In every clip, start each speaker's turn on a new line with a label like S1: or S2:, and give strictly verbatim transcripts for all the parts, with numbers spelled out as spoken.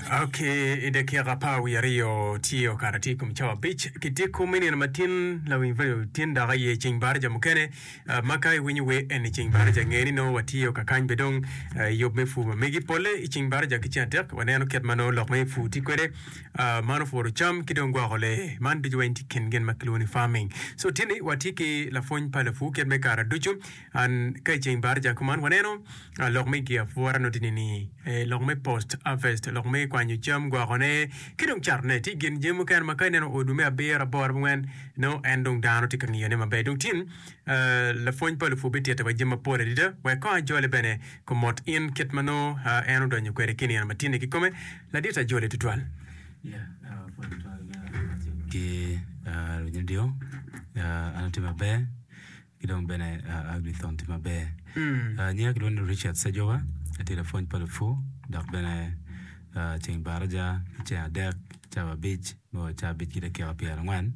S1: Ok, i dakika apar wiye aryo tye okato tye i kom cawa abic kityeko me nino matin lawiny radio tin dok aye ceng baraja mukene uh, ma ka iwinyo wer eni ceng baraja nge ni nongo watye kakany be dong uh, i yub me pur ma megi polle i ceng baraja ki ceng adek waneno kit ma nongo lok me pur tye kwede uh, mano puro cam ki dong gwoko lee man ducu weng tye kin gin ma kilwongo ni farming so tin-ni watye ki lapwony pa lapur kit me kare ducu an ka i ceng baraja kuman waneno uh, lok me gi apwora nongo tye ni eh, lok me post harvest lok me kwanyo cam gwokone ki dong catone tye gin jami mukene ma ka ineno odwe me abiro aboro abongwen nongo en dong dano tye ka ngiyone maber dong tin uh, lapwony pa lupur bitito wa jami mapol adada wek kong ajole bene komot in kit ma nongo uh, en odonyo kwede ki nino matin-ni kikome ladit ajole tutwal
S2: Yeah, uh, pwony tutwal ki uh, winyo dio uh, an atye maber ki dong bene uh, Agrithon tye maber.
S1: mm.
S2: Uh, nyinga kilwongo ni Richard Sejowa, atye lapwony pa lupur dok bene uh, ceng baraja ki ceng adek cawa abic me cawa abic ki dakika pyerangwen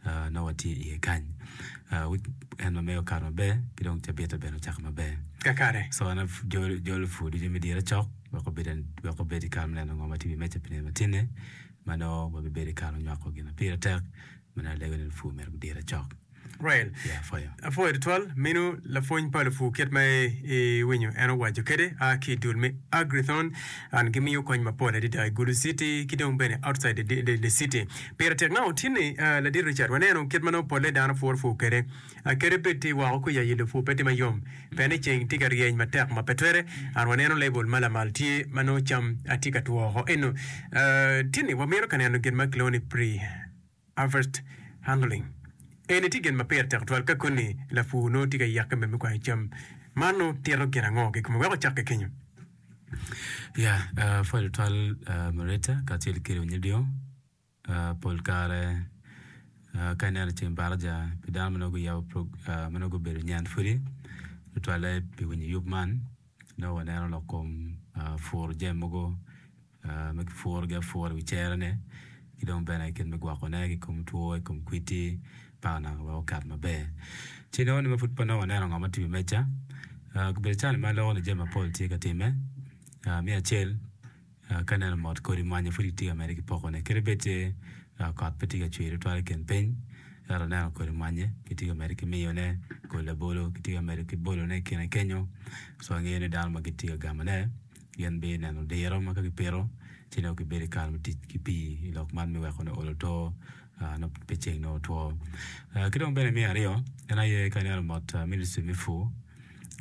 S2: uh, nongo watye iye kany. Uh, week en ma mege okato maber ki dong cabite bene ocako maber.
S1: kakare
S2: So an jolo jolo pur ducu me dire cok wek obed wek obed i kare me neno ngo ma tye i wi meja pi nino matin-ni ma nongo wabibedo i kare me nywako gin ma pire tek ma nongo alego ni lupur myero gudire cok.
S1: right
S2: Yeah, apwoyo.
S1: apwoyo tutwal meno lapwony pa lupur kit ma iwinyo en owaco kede a ki i dul me Agrithon an gimiyo kony mapol adada i Gulu City ki dong bene outside the, the, the city pire tek na otinni uh, ladit Richard waneno kit ma nongo polle dano puro pur kede uh, kede bed tye woko kuca yi pur pe tye mayom pien ni ceng tye ka ryeny matek ma pe twere an waneno label ma lamal tye ma nongo cam atye ka two woko eno uh, tinni wamito ka neno gin ma kilwongo ni pre harvest handling eni tye gin ma pire tek twal ka koni lapur nongo tye ka yake me me kwanyo cam man nongo tito gin ango kikome wek ocak ki kenyo
S2: Yeah, uh, apwoyo tutwal uh, Marita kacel ki winyo dio uh, pol kare uh, ka ineno ceng baraja pi dano ma nongo guyabo prog- uh, ma nongo gubedo nyen pudi tutwalle pi winyo yub man nongo waneno lok kom uh, puro jami mogo uh, ma kipurogi apura i wi cerene ki dong bene kit me gwokone ki kom two i kom kwiti paka naka wek okat maber. Ci nongo ni ma pud pe nongo waneno ngo ma tye i wi meja uh, kabedo cani ma aloko ni jami mapol tye ka timme uh, me acel uh, ka ineno mot kodi mwanyi pud kitye ka medde ki pokone kadi bed tye uh, kot pe tye ka cwer tutwal i kin piny ento aneno kodi mwanyi kitye ka medde ki miyone kodi labolo kitye ka medo ki bolone i kine kenyo so angeyo ni dano ma gitye ka gamone gin bineno diro ma ka gipito ci nongo gibedo i kare me tic ki pii i lok man me weko ni olo to uh, nongo pe ceng nongo otwo. Uh, ki dong bene me aryo en aye ka ineno mot uh, ministry me pur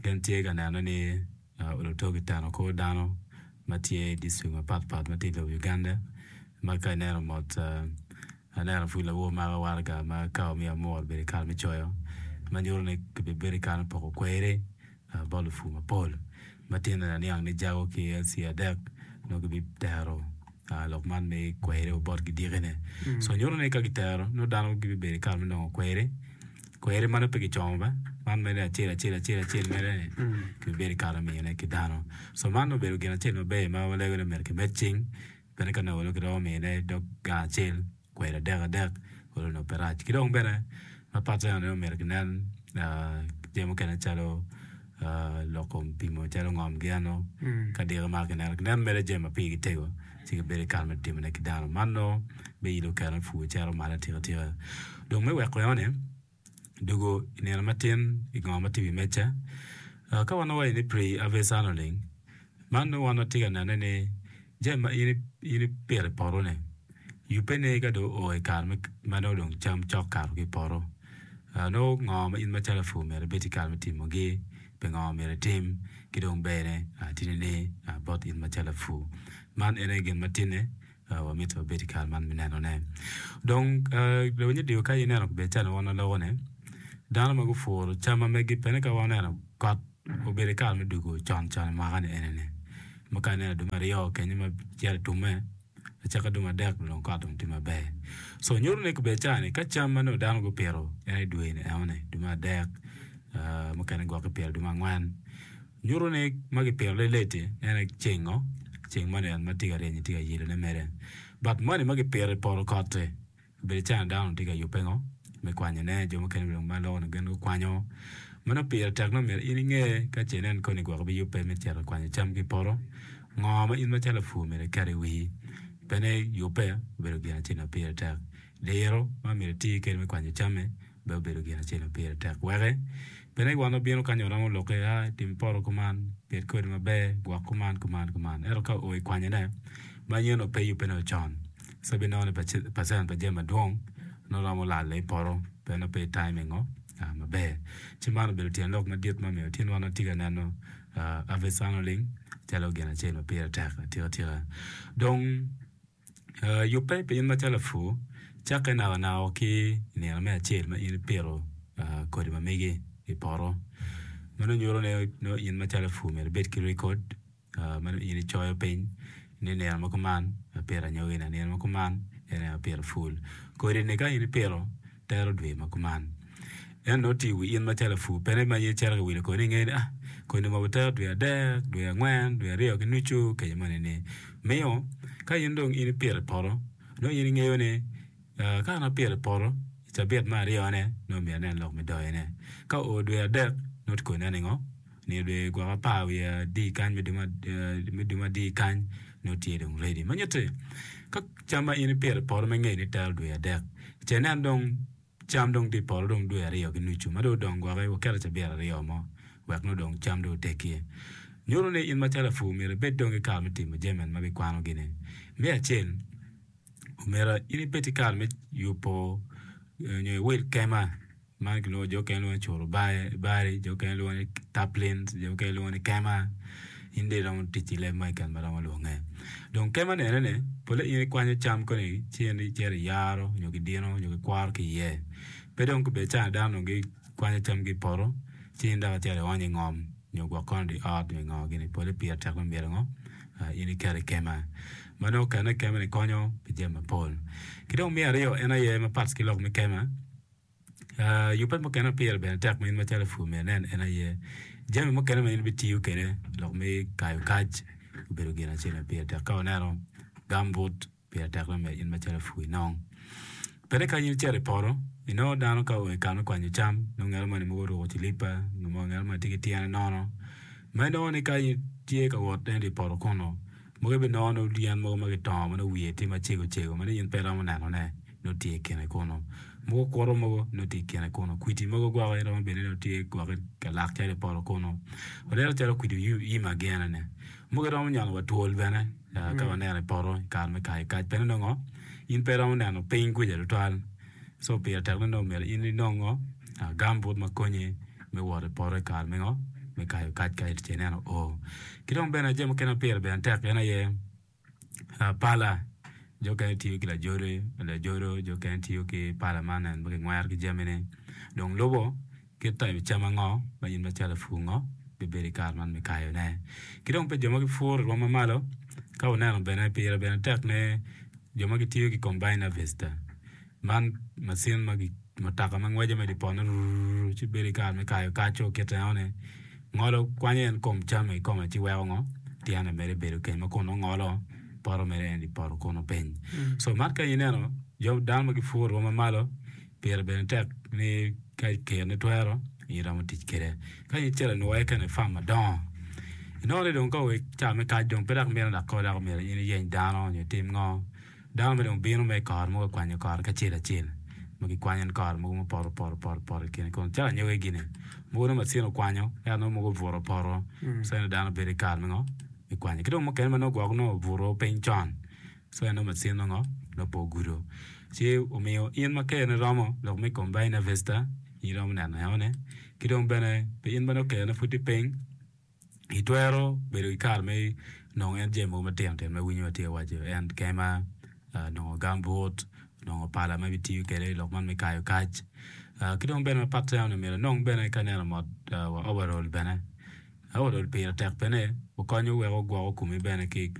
S2: gin tye ka neno ni uh, olo to kiteno kor dano ma tye i district mapatpat ma tye i lobo Uganda ma ka ineno mot uh, aneno pud lawor mako waraga ma ka omiyo amur obedo i kare me coyo ma nyuto ni kibibedo i kare me poko kweri uh, bot lupur mapol ma tin aniang ni jago ki LC adek nongo gibitero uh, lok man me kweri bot gidikine
S1: mm.
S2: so nyuto ni ka gitero nongo dano gibibedo i kare me nongo kweri kweri man pe kicomo ba man mere acel acel acel acel mere ni
S1: Mm.
S2: kibibedo i kare me miyone ki dano so man obedo gin acel maber ma walego ni myero kimed cing bene ka nongo kiromo miyone dog gang acel kweri adek adek olo nongo pe rac ki dong bene mapat eno myero kinen uh, jami mukene calo uh, lok kom pimo calo ngom gi eno
S1: Mm.
S2: ka diko ma kineno kinen mere jami ma pigi tego ci gibedo i kare me timone ki dano man nongo biyilo kero me pur cito malo atika tika dong me weko enoni dugo i nino matin i ngo ma tye i wi meja uh, ka wan wawaco ni pre harvest handling man nongo wan watye ka nene ni jami ma in in ipito i poto-ni yubbe ni ka dong oo i kare me ma nongo dong cam cok kato ki i poto uh, nongo ngo ma in macalo lapur myero ibed i kare me timogi pi ngo myero itim ki dong berne uh, tye ni uh, bot in macalo lapur man ene gin ma tine uh, wamito wabed i kare man me nenone dong uh, lawiny dio ka ineno kabedo calo wan waloko ni dano ma gupuro cam ma megi pene ka waneno kot obedo i kare me dugo con con i mwaka ni enini ma ka ineno dwe me aryo kenyo ma cito itumme acaka dwe me adek dong kot dong tye maber so nyuto ni kabedo cani ka cam ma nongo dano gupito en i dwe ni enoni dwe me adek uh, mukene gwok kipito dwe me angwen nyuto ni ma kipito leleti en aye cengo ceng moni en ma tye ka ryenyo tye ka yelone mere but moni ma kipito i poto kot-ti obedo cani dano tye ka yubbe ngo me kwanyone jo mukene dong ma loko ni gin gukwanyo mano pire tek nongo myero in inge ka ce inen koni gwok ibiyubbe me cito kwanyo cam ki i poto ngo ma in macalo lapur myero iket i wii Bene yubbe obedo gin acel ma pire tek. Diro ma myero iti kwede me kwanyo camme bene obedo gin acel ma pire tek weke bene wan wabino kany waromo lokke a tim poto kuman bed kodi maber gwok kuman kuman kuman ento ka oo i kwanyone ma in onongo pe iyubbe nongo con ci ibinongo ni pacent pa jami madwong nongo romo lalo i poto pien nongo pe i timing maber ci man obedo tyen lok madit ma omiyo tin wan watye ka neno harvest handling calo gin acel ma pire tek atika tika dong yubbe pi in macalo lapur cakke nakanaka ki i nino me acel ma in ipito kodi ma megi i poto meno nyuto ni nongo in macalo lapur myero ibed ki record ma nongo in icoyo piny ni nino ma kuman apito anyogi-ni nino ma kuman en aye apito pul kodi-ni ka in ipito tero dwe ma kuman ento nongo tye i wi in macalo lapur pe ni ma in icito ka wilo kodi ingeyo ni ah kodi mogo tero dwe adek dwe angwen dwe aryo ki nucu kenyo moni ni miyo ka in dong in ipito i poto nongo in ingeyo ni ka an apito i poto i cabit me aryone nongo myero anen lok me doyone ka oo dwe adek nongo tye koni ningo nino dwe gwok apar wiye adi kany me dwe adi kany nongo tye dong ready ma nyutti ka cam ma in ipito i poto ma ingeyo ni tero dwe adek ce inen dong cam dong tye i poto dong dwe aryo ki nucu ma dong odong gwoki waketo cabit aryo mo wek nongo dong cam dong oteggi nyuto ni in macalo lapur myero ibed dong ki kare me timo jami ma bikwano gini me acel omyero in ibed ki kare me yubo nyo iwil kema man kilwongo jo mukene lwongo ni curubari jo mukene lwongo ni taplin jo mukene lwongo ni kema in dong iromo tic ki leb mo keken ma romo lwonge dong kema ni enoni pole in ikwanyo cam koni ci in icito iyaro nyo kidino nyo kikworo ki iye pe dong kobedo caa dano dong gikwanyo camgi i poto ci in dok icito ionyo i ngom nyo gwok kono di ot nyo ingo gini pole pire tek me myero ngo in iketo i kema ma nongo kene i kema ni konyo pi jami mapol ki dong me aryo en aye mapat ki lok me kema yubbe mukene ma pire bene tek ma in macalo lapur myero inen en aye jami mukene ma in ibitiyo kwede lok me kayo kac obedo gin acel ma pire tek ka waneno gambut pire tek me in macalo lapur inong bene ka in icito i poto inongo dano ka oo i kare me kwanyo cam nongo ngat moni mogo oruko cilipa nyo ngat moni tye ki tyene nono ma inongo ni ka in tye ka wot ento i poto kunu mogo ibinongo nongo yen mogo ma kitongo ma nongo wiye tye macego cego ma nongo in pe iromo nenone nongo tye i kine kunu mogo okuto mogo nongo tye i kine kunu kwidi mogo gwoko iromo bedo ni nongo tye gwoko ka lak calo i poto kunu waneno calo kwidi yima gin eni mogo iromo nyono wa twol bene ka waneno i poto i kare me kayo kac bene nongo in pe iromo neno piny kuca tutwal so pire tek ni nongo myero in inong gambut ma konyi me wot i poto i kare me ngo me kayo kac ka ce ineno oo ki dong bene jami mukene ma pire bene tek en aye pala jo mukene tiyo ki lajodo jo mukene tiyo ki pala man en ma kingwero ki jamine dong lubo kit type cam ango ma in macalo lapur ngo bibedo i kare man me kayone ki dong pi jo ma gipuro i rwom mamalo ka wuneno bene pire bene tek ni jo ma gitiyo ki combine harvester man macin ma mutoka ma ngweco mere i poto rrrr ci bedo i kare me kayo kaco kite enoni ngolo kwanyo en kom cam kikome ci weko ngo tyene mere bedo keny ma kun nongo ngolo poto mere en i poto kunu piny so man ka ineno jo dano ma gipuro i rwom mamalo pire bene tek ni ka keroni twero in iromo tic kwede ka in icito inwoye kene i fam madongo inongo ni dong ka oo ca me kac dong pe dok mito dok kor dok myero in iyeny dano nyo itim ngo dano mere dong bino mere i kore mogo ka kwanyo kore ki acel acel ma gikwanyo en kore mogo mupoto poto poto poto i kine kun calo anyogi gini mogo nongo macin okwanyo ento nongo mogo obuto opoto so ento dano bedo ki kare me ngo me kwanyo ki dong mukene ma nongo gwok nongo obuto piny con so en nongo macin nongo nongo pe ogudo ci omiyo in ma keroni romo lok me combine harvester in iromo neno enoni ki dong bene pi in ma nongo keroni pud tye piny itwero bedo ki kare me nongo en jami mogo matino tino ma iwinyo atye ka waco en kema nongo gambut nongo pala ma ibitiyo kwede i lok man me kayo kac ki dong bene mapat eno myero inong bene ka ineno mot wa overall bene overall pire tek bene okonyo weko gwoko komi bene ki.